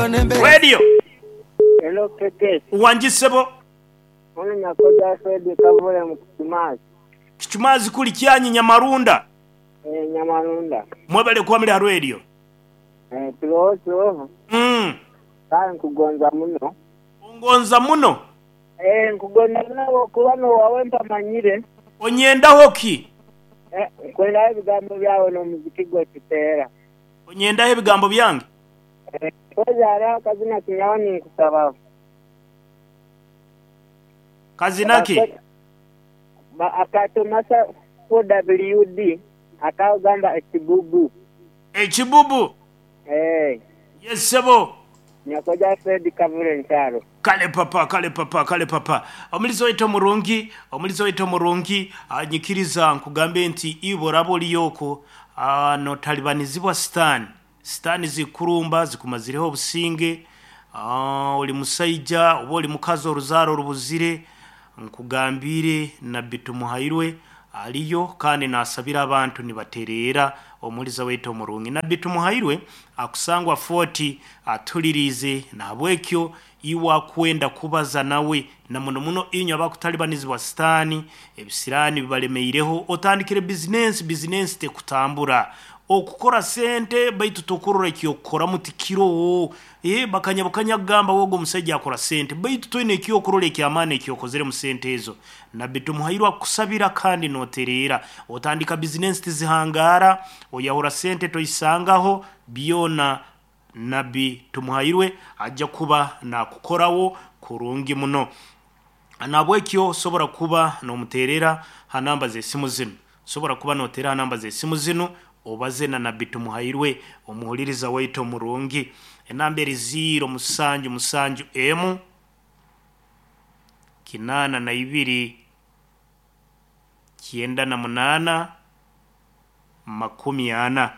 Radio. Hello KK. Wangi ssebo. Ono Nyakoja Fred Kavule mu Kichumaazi. Kichumaazi kuli Kyanyi Nyamarunda. Eh, Nyamarunda. Mwebale kuba muli ha Radio. Eh, tuloho tuloho. Kale nkugonza muno. Ongonza muno? Eh, nkugonza muno olwokuba n'owawe mpamanyire. Onyendaho ki? Eh, nkwendaho ebigambo byawe n'omuziki gwo kiteera. Onyendaho ebigambo byange? Eh, mpozi hariho akazina kinyawe ninkusabaho. Kazina ki? Akatumasa 4WD akagamba ekibubu. Ekibubu? Eh. Yes ssebo. Nyakoja Fred Kavule Nkyaro. Kale papa, kale papa, kale papa. Omulizi waitu omurungi, omulizi waitu omurungi, nyikiriza nkugambe nti iwe oraba oriyo okwo notalibanizibwa sitaani. Sitaani zikurumba zikumazireho obusinge, oli musaija oba oli mukazi oruzaaro orubuzire, nkugambire Nabbi Tumuhairwe aliyo kandi nasabira abantu nibatereera omuliza waitu omurungi. Nabbi Tumuhairwe akusangwa Fort atuliriize, nahabwekyo iwe akwenda kubaza nawe na muno muno inywe abakutalibanizibwa sitaani, ebisiraani bibalemeireho, otandikire bizinensi, bizinensi tekutambura. Okukora sente baitu tokurora ekyokukoramu tikiroho. Bakanya bukanya kugamba wogo omusajja akora sente baitu toine ekyokurora ekyamaani ekyokozere mu sente ezo. Nabbi Tumuhairwe akusabira kandi notereera. Otandika bizinensi tizihangara, oyahura sente toisangaho, byona Nabbi Tumuhairwe ajja kuba nakukorawo kurungi muno. Nahabwekyo osobora kuba nomuteerera ha namba z'esimu zinu. Osobora kuba noteera ha namba z'esimu zinu obaze na Nabbi Tumuhairwe omuhuliriza waitu omurungi. Enamba eri ziiro musanju musanju emu, kinaana na ibiri, kyenda na munaana, makumi ana.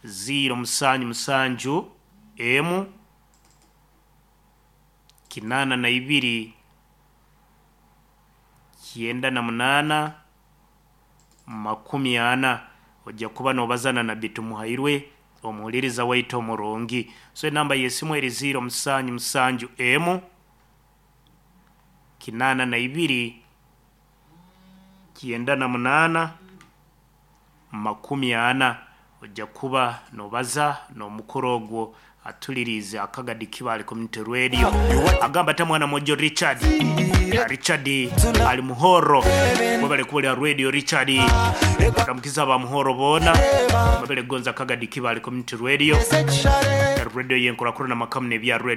Ziiro musanju musanju emu, kinaana na ibiri, kyenda na munaana, makumi ana. Ojja kuba nobaza na Nabbi Tumuhairwe omuhuliriza waitu omurungi. So enamba y'esimu eri ziiro musanju musanju emu, kinaana na ibiri, kyenda na munaana, makumi ana. Ojja kuba nobaza n'omukuru ogwo atuliriize Akagadi Kibaale Community Radio. Agamba ata mwana mwojo Richard. Richard ali Muhoro. Mwebale kuwulira Radio Richard. Ramukiza aba Muhoro boona. Mwebale kugonza Akagadi Kibaale Community Radio. Radio yenkurakurana makamu n'ebya Radio.